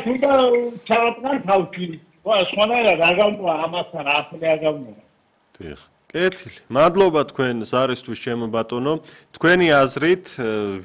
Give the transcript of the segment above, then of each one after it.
ამას უნდა ჩავატყან თავში. სხვანაირად არ გავმოვა ამასთან ახლა არ გავმოვა. დიახ. კეთილი. მადლობა თქვენ ზარისთვის ჩემო ბატონო. თქვენი აზრით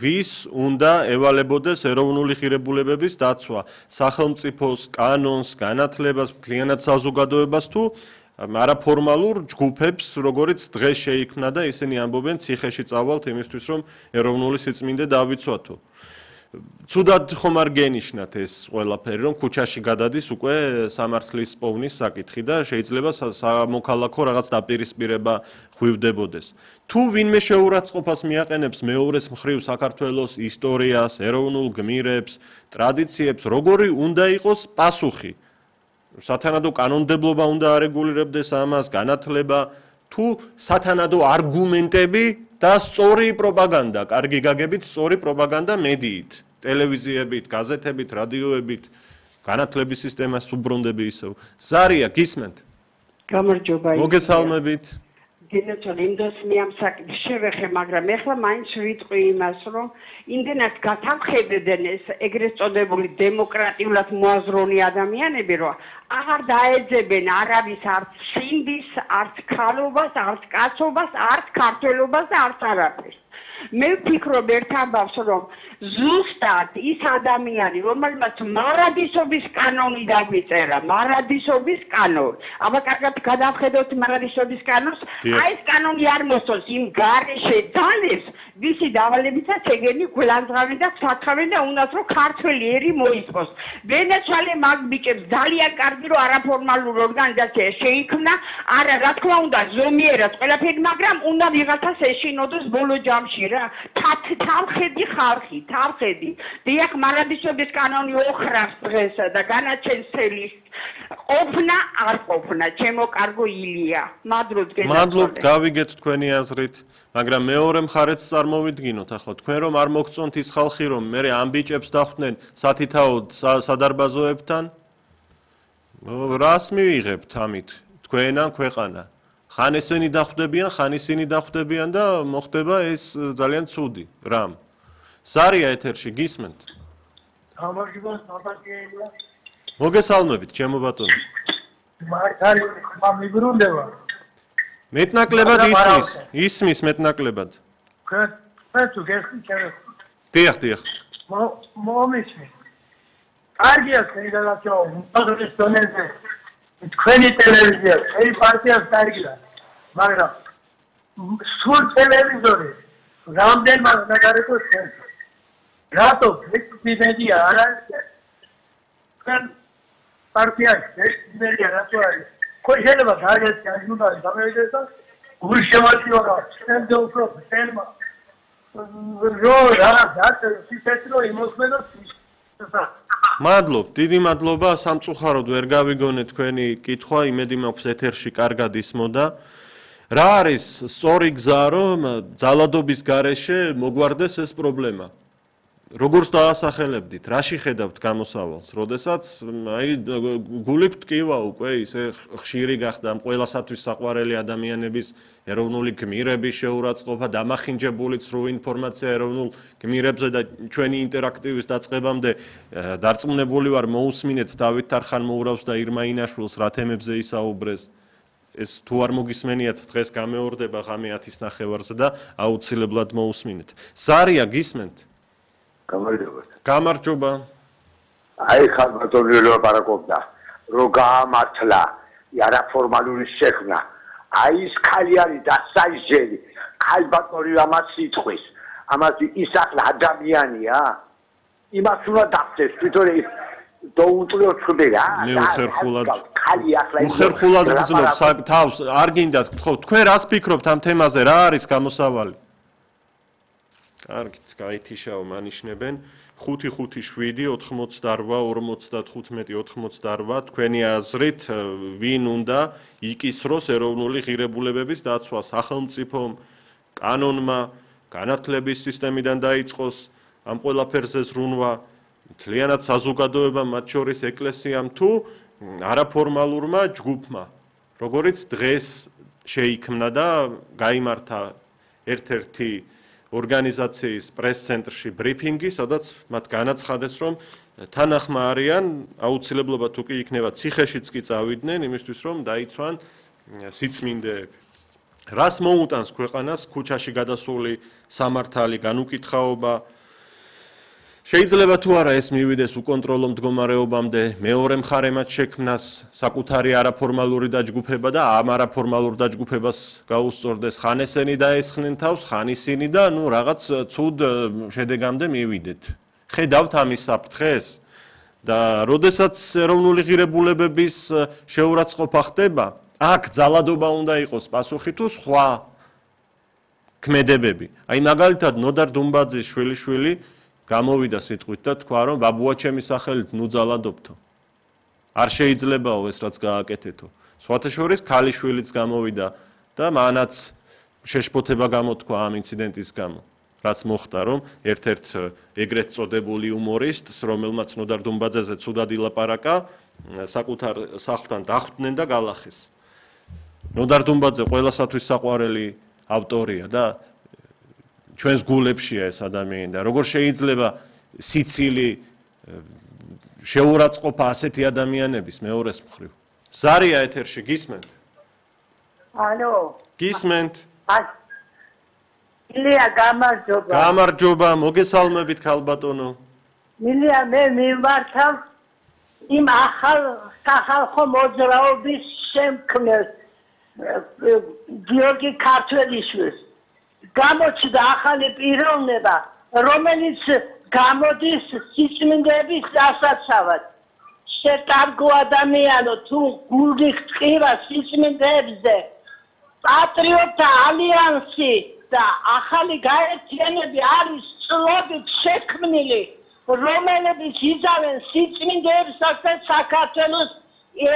ვის უნდა ევალებოდეს ეროვნული ღირებულებების დაცვა? სახელმწიფოს, კანონს, განათლებას, მთლიანად საზოგადოებას თუ არაფორმალურ ჯგუფებს, როგორიც დღეს შეიქმნა და ისინი ამბობენ ციხეში წავალთ იმისთვის, რომ ეროვნული სიწმინდე დავიცვათო. Ცუდად ხომ არ გენიშნათ ეს ყველაფერი, რომ ქუჩაში გადადის უკვე სამართლის პოვნის საკითხი და შეიძლება სამოქალაქო რაღაც დაპირისპირება ხვივდებოდეს. თუ ვინმე შეურაცხყოფას მიაყენებს მეორეს მხრივ საქართველოს ისტორიას, ეროვნულ გმირებს, ტრადიციებს, როგორი უნდა იყოს პასუხი? სათანადო კანონმდებლობა უნდა არეგულირებდეს ამას, განათლება, თუ სათანადო არგუმენტები და სწორი პროპაგანდა, კარგი გაგებით სწორი პროპაგანდა მედიით, ტელევიზიებით, გაზეთებით, რადიოებით, განათლების სისტემას უბრუნდები ისევ. ზარია, გისმენთ? გამარჯობა. მოგესალმებით. გინოჩოლ იმდოს მიამსაკი შევეხე, მაგრამ ეხლა მაინც ვიტყვი იმას, რომ იმდენად გათამხედენ ეს ეგრეთ წოდებული დემოკრატიულად მოაზროვნე ადამიანები, რომ აღარ დაეძებენ არავის არც სინდის, არც ქალობას, არც კაცობას, არც ქართველობას და არც არაფერს. მე ვფიქრობ ერთ ამბავს, რომ ზუსტად ის ადამიანი, რომელმაც მარადისობის კანონი დაგვიწერა, მარადისობის კანონი. აბა კარგად გადავხედოთ მარადისობის კანონს, აი ეს კანონი არ მოსწონს იმ გარეშე ძალებს, ვისი დავალებითაც ეგენი გულანძღავენ და გვსაცხავენ და უნდათ რომ ქართველი ერი მოისპოს. ვენეცვალე მაგ ბიჭებს ძალიან კარგი რომ არაფორმალური ორგანიზაცია შეიქმნა, არა რა თქმა უნდა ზომიერად ყველაფერი, მაგრამ უნდა ვიღაცას ეშინოდეს ბოლო ჯამში რა. თავხედი ხალხი, თავხედი. დიახ, მარადისობის კანონი ოხრავს დღეს და განაჩენსელი ყოფნა არ ყოფნა, ჩემო კარგო ილია. მადლობთ გენაცვალე. მადლობთ, გავიგეთ თქვენი აზრით. მაგრამ მეორე მხარეც წარმოვიდგინოთ ახლა თქვენ რომ არ მოგწონთ ის ხალხი რომ მე ამ ბიჭებს დახვდნენ სათითაოდ სადარბაზოებთან რას მივიღებთ ამით თქვენ ან ქვეყანა ხან ესენი დახვდებიან ხან ისინი დახვდებიან და მოხდება ეს ძალიან ცუდი რამ ზარია ეთერში გისმენთ მოგესალმებით ჩემო ბატონო მართალი მამიბრუნდება მეტნაკლებად ისმის მეტნაკლებად. თქვენ თუ გესმით ჩემს. დიახ. მომისმის. კარგია თქვენი გადაცემა, უმაღლეს დონეზე. თქვენი ტელევიზია, თქვენი პარტია კარგია. მაგრამ სულ ტელევიზორი რამდენმა ნაგარეთოს ჩვენ. რატო ვიკიპედია არ არის? თქვენ პარტიაში ვიკიპედია რატო არის? შეიძლება გაიგეთ ან უნდა გამოვიდეს და გული შემოწივა შემდეგ უფრო თემა მადლობ დიდი მადლობა სამწუხაროდ ვერ გავიგონე თქვენი კითხვა იმედი მაქვს ეთერში კარგად ისმოდა რა არის სწორი გზა რომ ძალადობის გარეშე მოგვარდეს ეს პრობლემა როგორც დაასახელებდით, რაში ხედავთ გამოსავალს, როდესაც აი გული გტკივა უკვე ისე ხშირი გახდა ამ ყველასათვის საყვარელი ადამიანების ეროვნული გმირების შეურაცხყოფა, დამახინჯებული ცრუ ინფორმაცია ეროვნულ გმირებზე და ჩვენი ინტერაქტივის დაწყებამდე დარწმუნებული ვარ მოусმინეთ დავით თარხანმოურავს და ირმა ინაშვილს რა თემებზე ისაუბრეს. ეს თუ არ მოგისმენიათ დღეს გამეორდება ღამე 10-ის ნახევარზე და აუცილებლად მოусმინეთ. ზარია გისმენთ? გამარჯობა. აი ხან ბატონი ლაპარაკობდა, რომ გაამართლა არაფორმალური შექმნა. აი ის ხალი არის დასაიჟელი. ხალ ბატონი ამას იტყვის. ამას ის ახლა ადამიანია. იმას უნდა დახდეს, თვითონ დაუწლიოთ ხდება. მე უხერხულად გძნობ თავს, არ გინდათ ხო, თქვენ რას ფიქრობთ ამ თემაზე, რა არის გამოსავალი? კარგით, გაითიშაო მანიშნებენ 5-5-7-88-45 თქვენი აზრით ვინ უნდა იკისროს ეროვნული ღირებულებების დაცვა სახელმწიფომ, კანონმა, განათლების სისტემიდან დაიწყოს ამ ყველაფერზე ზრუნვა, მთლიანად საზოგადოებამ, მათ შორის ეკლესიამ თუ არაფორმალურმა ჯგუფმა, როგორც დღეს შეიქმნა და გაიმართა ერთ-ერთი ორგანიზაციის პრეს-ცენტრში ბრიფინგი, სადაც მათ განაცხადეს, რომ თანახმა არიან, აუცილებლობა თუ კი იქნება ციხეშიც კი წავიდნენ, იმისთვის რომ დაიცვან სიწმინდეები. რას მოუტანს ქვეყანას ქუჩაში გადასული სამართალი, განუკითხაობა? შეიძლება თუ არა ეს მივიდეს უკონტროლო მდგომარეობამდე, მეორე მხარემაც შექმნას საკუთარი არაფორმალური დაჯგუფება და ამ არაფორმალურ დაჯგუფებას გაუსწორდეს ხან ესენი დაესხნენ თავს, ხან ისინი და რაღაც ცუდ შედეგამდე მივიდეთ. ხედავთ ამის საფრთხეს და როდესაც ეროვნული ღირებულებების შეურაცხყოფა ხდება, აქ ძალადობა უნდა იყოს პასუხი თუ სხვა ქმედებები. აი მაგალითად ნოდარ დუმბაძის შვილიშვილი გამოვიდა სიტყვით და თქვა რომ ბაბუა ჩემი სახელით ნუ ძალადობთო. არ შეიძლებაო ეს რაც გააკეთეთო. სხვათა შორის ქალიშვილიც გამოვიდა და მანაც შეშფოთება გამოთქვა ამ ინციდენტის გამო. რაც მოხდა რომ ერთ-ერთ ეგრეთ წოდებული უმორისტს, რომელმაც ნოდარ დუმბაძეზე ცუდად ილაპარაკა, საკუთარ სახლთან დახვდნენ და გალახეს. ნოდარ დუმბაძე ყველასათვის საყვარელი ავტორია და ჩვენს გულებშია ეს ადამიანი და როგორ შეიძლება სიცილი შეურაცხყოფა ასეთი ადამიანების მეორეს მხრივ. ზარია ეთერში გისმენთ? ალო. გისმენთ? მილია გამარჯობა. გამარჯობა, მოგესალმებით ქალბატონო. მილია მე მიმართავ იმ ახალ სახალხო მოძრაობის შემქმნელს გიორგი ქართველიშვილს. გამოჩნდა ახალი პიროვნება, რომელიც გამოდის სიწმინდეების დასაცავად. შეტარგო ადამიანო თუ გული ხტყირა სიწმინდეებზე, პატრიოტთა ალიანსი და ახალი გაერთიანები არის წლობით შექმნილი, რომელებიც იზავენ სიწმინდეებსაც და საქართველოს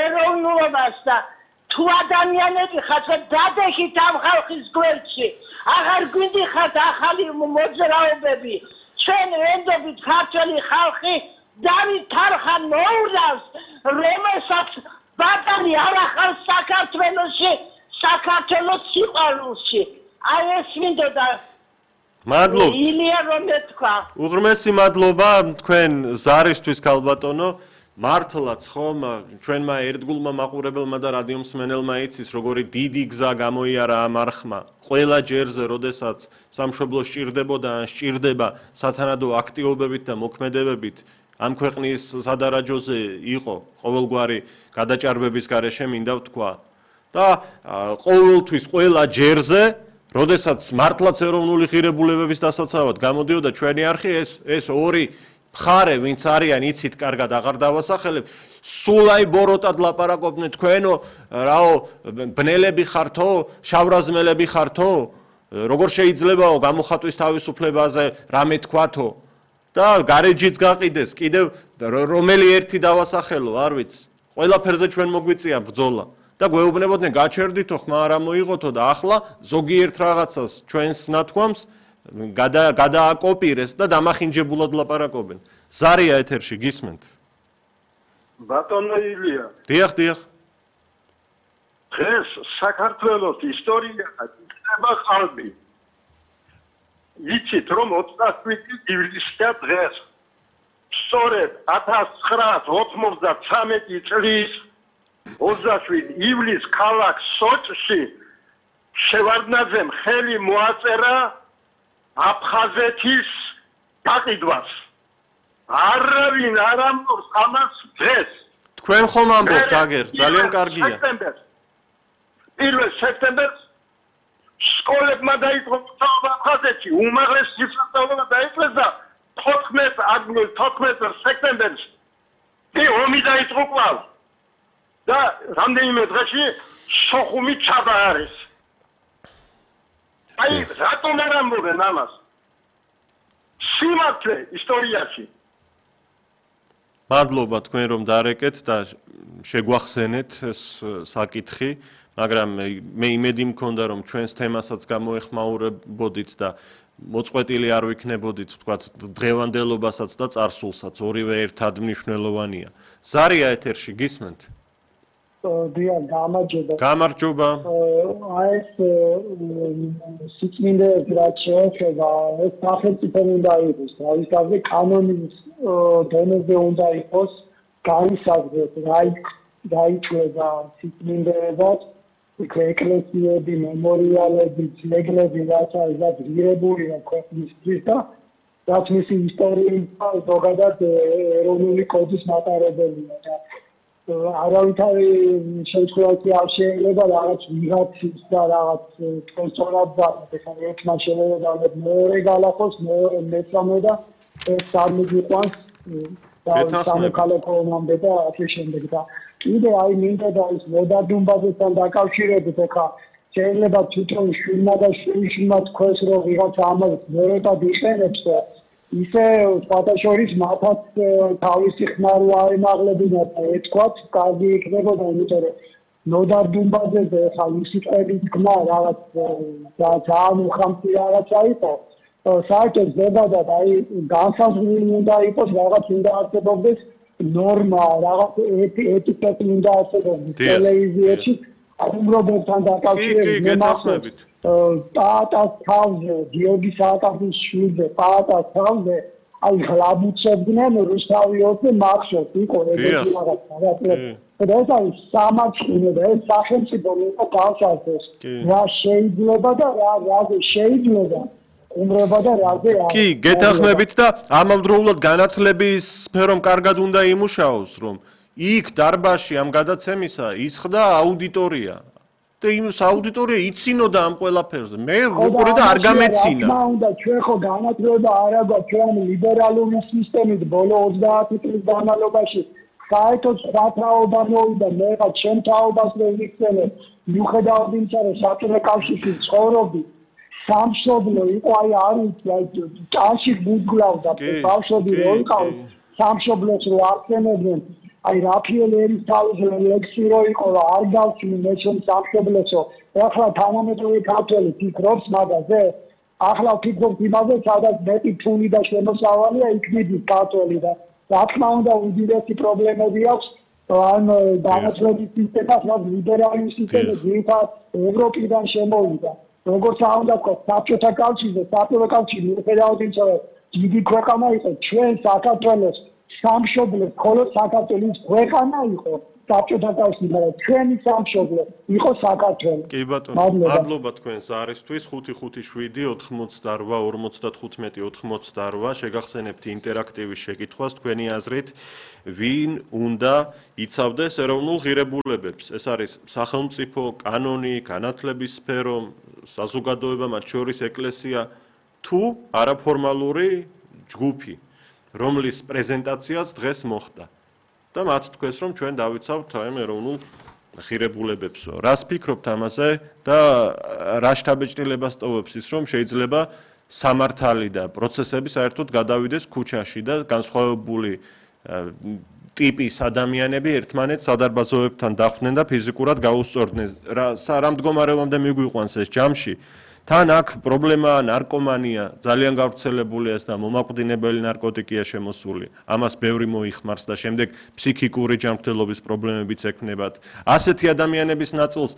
ეროვნულობას და თუ ადამიანები ხართ დადეხით ამ ხალხის გვერდში, აღარ გვიდიხართ ახალი მოძრაობები, ჩვენ ვენდობით ქართველი ხალხი დავით თარხან მოურავს, რომელსაც ბატონი არ ახავს საქართველოში, საქართველოს სიყვარულში. აი ეს მინდოდა მადლობთ. ილია რომ ეთქვა. უღრმესი მადლობა თქვენ ზარისთვის ქალბატონო. მართლაც ხომ ჩვენმა ერთგულმა მაყურებელმა და რადიო მსმენელმა იცის როგორი დიდი გზა გამოიარა ამ არხმა. ყველა ჯერზე, როდესაც სამშობლო სჭირდებოდა ან სჭირდება სათანადო აქტიობებით და მოქმედებებით, ამ ქვეყნის სადარაჯოზე იყო ყოველგვარი გადაჭარბების გარეშე მინდა ვთქვა. და ყოველთვის ყველა ჯერზე, როდესაც მართლაც ეროვნული ღირებულებების დასაცავად გამოდიოდა ჩვენი არხი, ეს ორი მხარე, ვინც არიან, იცით კარგად, აღარ დავასახელებ, სულ აი ბოროტად ლაპარაკობდნენ თქვენო, რაო, ბნელები ხართო, შავრაზმელები ხართო, როგორ შეიძლებაო გამოხატვის თავისუფლებაზე რამე თქვათო და გარეჯიც გაყიდეს, კიდევ რომელი ერთი დავასახელო, არ ვიცი. ყველაფერზე ჩვენ მოგვიწია ბრძოლა და გვეუბნებოდნენ გაჩერდითო, ხმა არ მოიღოთო და ახლა ზოგიერთ რაღაცას ჩვენს ნათქვამს გადააკოპირეს და დამახინჯებულად ლაპარაკობენ. ზარია ეთერში გისმენთ? ბატონო ილია. დიახ, დიახ. დღეს საქართველოს ისტორია იქნება ყალბი. იცით რომ 27 ივლისია დღეს. სწორედ 1993 წლის 27 ივლისს ქალაქ სოჭში შევარდნაძემ ხელი მოაწერა აფხაზეთის გაყიდვას. არავინ არ ამბობს ამას დღეს. თქვენ ხომ ამბობთ აგერ, ძალიან კარგია. 1 სექტემბერს სკოლებმა დაიწყო სწავლა აფხაზეთში, უმაღლესი სასწავლებლო დაიწყეს და 14 სექტემბერს ომი დაიწყო კვლავ. და რამდენიმე დღეში სოხუმი ჩაბაარეს. აი, რატომ არ ამბობენ ამას? სიმართლე ისტორიაში. მადლობა თქვენ რომ დარეკეთ და შეგვახსენეთ ეს საკითხი, მაგრამ მე იმედი მქონდა რომ ჩვენს თემასაც გამოეხმაურებოდით და მოწყვეტილი არ ვიქნებოდით, თქვათ, დღევანდელობასაც და წარსულსაც, ორივე ერთად მნიშვნელოვანია. ზარია ეთერში გისმენთ? დიახ, გამარჯობა. გამარჯობა. აი ეს სიწმინდეებს რაც შეეხება, ეს სახელმწიფო უნდა იყოს, თავისთავად კანონის დონეზე უნდა იყოს განსაზღვრეთ, რა ითვლება სიწმინდეებად, ეკლესიები, მემორიალები, ძეგლები, რაც არის დაგირებულია ქვეყნისთვის და რაც მისი ისტორიით ზოგადად ეროვნული კოდის მატარებელია და არავითარი შემთხვევაში არ შეიძლება რაღაც ვიღაცის და რაღაც სწორად და ერთმა შეიძლება მეორე გალახოს, მეორე მესამე და ეს არ მიგიყვანს და სამოქალაქო ომამდე და ასე შემდეგ და კიდე აი მინდა და ის მოდარდუნბაზესთან დაკავშირებით ახლა შეიძლება თვითონ შვილმა და შვილიშვილმა თქვეს რომ ვიღაცა ამას მეროდად იყენებს და ისე ფათაშორის მათაც თავისი ხმარო აემაღლებინათ და ეთქვათ კარგი იქნებოდა იმიტომ რომ მოდარდუნბაზეზე ახლა ისი წების ხმა რაღაც ძალიან უხამთი რაღაცა იყო საერთოდ ზებადად აი განსაზღვრული უნდა იყოს რაღაც უნდა არსებობდეს ნორმა რაღაც ეტიკეტი უნდა არსებობდეს ტელევიზიაში უმრობებთან დაკავშირებით გეთანხმებით პაატას თავზე გიორგი სააკაძის შვილზე პაატას თავზე აი ღლაბუცებდნენ რუსთავიოსზე მახშოთ იყო ეგეთი რაღაცა და ეს არის სამართლიანო და ეს სახელმწიფო უნდა გავსაზრდოს რა შეიძლება და რა შეიძლება უმრობა და რაზე არის. კი, გეთანხმებით და ამავდროულად განათლების სფერომ კარგად უნდა იმუშაოს, რომ იქ დარბაზში ამ გადაცემისა ისხდა აუდიტორია. და იმის აუდიტორია იცინოდა ამ ყველაფერზე. მე უყურე და არ გამეცინა. რა უნდა ჩვენ ხო განათლება არა გვაქვს ჩვენ ლიბერალური სისტემით ბოლო 30 წლის განმავლობაში საერთოდ სხვა თაობა მოვიდა მე ხა ჩემ თაობას ვერ ვიქცენე მიუხედავად იმისა რომ საბჭოთა კავშირში ცხოვრობდი სამშობლო იყო აი არის აი ჭაში გუგლავდა ბავშვები რო იყავ სამშობლოს რო აღწენებდნენ აი რაფიელ ერისთავის ლექსი რო იყო რა არ გავჩინე მე ჩემ სამშობლოსო ახლა თანამედროვე ქართველი ფიქრობს მაგაზე ახლა ფიქრობ იმაზე სადაც მეტი ფული და შემოსავალია იქნები ქართველი და რა თქმა უნდა უდიდესი პრობლემები აქვს ან განათლების სისტემას რაც ლიბერალური სისტემა ძირითადად ევროპიდან შემოვიდა როგორც უნდა ვთქვა, საბჭოთა კავშირზე, საბჭოთა კავშირი მიუხედავად იმისა, რომ დიდი ქვეყანა იყო, ჩვენ საქართველოს სამშობლო, მხოლოდ საქართველოს ქვეყანა იყო საბჭოთა კავშირი, მაგრამ ჩვენი სამშობლო იყო საქართველო. კი ბატონო, მადლობა თქვენს არისთვის 557-58-55 შეგახსენებთ ინტერაქტივის შეკითხვას თქვენი აზრით, ვინ უნდა იცავდეს ეროვნულ ღირებულებებს? ეს არის სახელმწიფო, კანონი, განათლების სფერო, საზოგადოება, მათ შორის ეკლესია თუ არაფორმალური ჯგუფი, რომლის პრეზენტაციაც დღეს მოხდა. და მათ თქვეს, რომ ჩვენ დავიცავთ აი ეროვნულ ღირებულებებსო. რას ფიქრობთ ამაზე და რა შთაბეჭდილებას ტოვებს ის, რომ შეიძლება სამართალი და პროცესები საერთოდ გადავიდეს ქუჩაში და განსხვავებული ტიპის ადამიანები ერთმანეთს სადარბაზოებთან დახვდნენ და ფიზიკურად გაუსწორდნენ. რა მდგომარეობამდე მიგვიყვანს ეს ჯამში? თან აქ პრობლემაა ნარკომანია, ძალიან გავრცელებულია ეს და მომაკვდინებელი ნარკოტიკია შემოსული. ამას ბევრი მოიხმარს და შემდეგ ფსიქიკური ჯანმრთელობის პრობლემებიც ექნებათ. ასეთი ადამიანების ნაწილს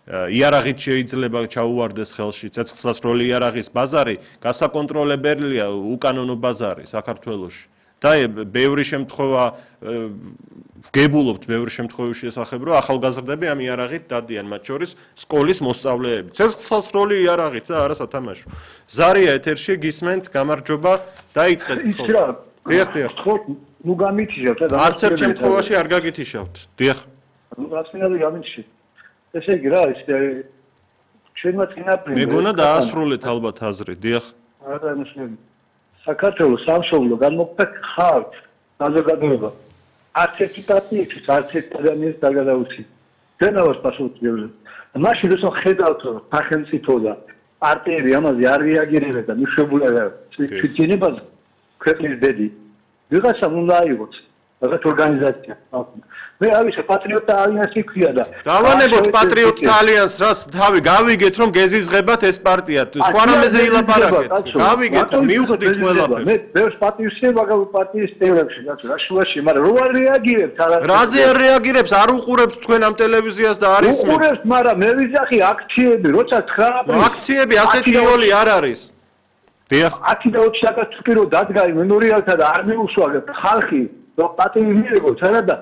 იარაღით შეიძლება ჩაუვარდეს ხელში. ცეცხლსასროლი იარაღის ბაზარი გასაკონტროლებელია უკანონო ბაზარი საქართველოში. და ბევრი შემთხვევა ვგებულობთ ბევრი შემთხვევაში შესახებ რომ ახალგაზრდები ამ იარაღით დადიან მათ შორის სკოლის მოსწავლეები ცეცხლსასროლი იარაღით და არა სათამაშო ზარია ეთერში გისმენთ გამარჯობა დაიწყეთ ხო დიახ ხო ნუ გამითიშავთ და არც ერთ შემთხვევაში არ გაგითიშავთ დიახ ნუ რაც მინდა გამითიშავთ ესე იგი რა ის ჩვენმა წინაპრები მეგონა დაასრულეთ ალბათ აზრი დიახ არა მოსმენ საქართველოს სამშობლო განმოქმედა ხალხ საზოგადოება არც ერთი პარტიისთვის არც ერთი ადამიანის დაგადაუცი დენავას პასუხისმგებლობა მაშინ როცა ხედავთ რომ სახელმწიფო და პარტიები ამაზე არ რეაგირებენ და მიშვებულება ჩვენებაზე ქვეყნის ბედი ვიღაცამ უნდა აიღოს რაღაც ორგანიზაცია. მე არ ვიცი პატრიოტთა ალიანსი ქვია და დავანებოთ პატრიოტთა ალიანსს, რას თავი გავიგეთ რომ გეზიზღებათ ეს პარტია. სხვა რამეზე ილაპარაკეთ. გავიგეთ, მივხვდით ყველაფერს. მე ბევრს პატივისცემა პარტიის წევრებში, რა შუაში, მაგრამ რო არ რეაგირებთ არა. რაზე არ რეაგირებს, არ უყურებს თქვენ ამ ტელევიზიას და არის მე. უყურებს, მაგრამ მე ვიზახი აქციები, როცა 9 აპრილს. აქციები ასეთი როლი არ არის. დიახ. 10 და 20 საკაც თუ პირო დადგა მემორიალთა და არ მიუსვაგებთ ხალხი, რომ პატივი მიიღოს, არა და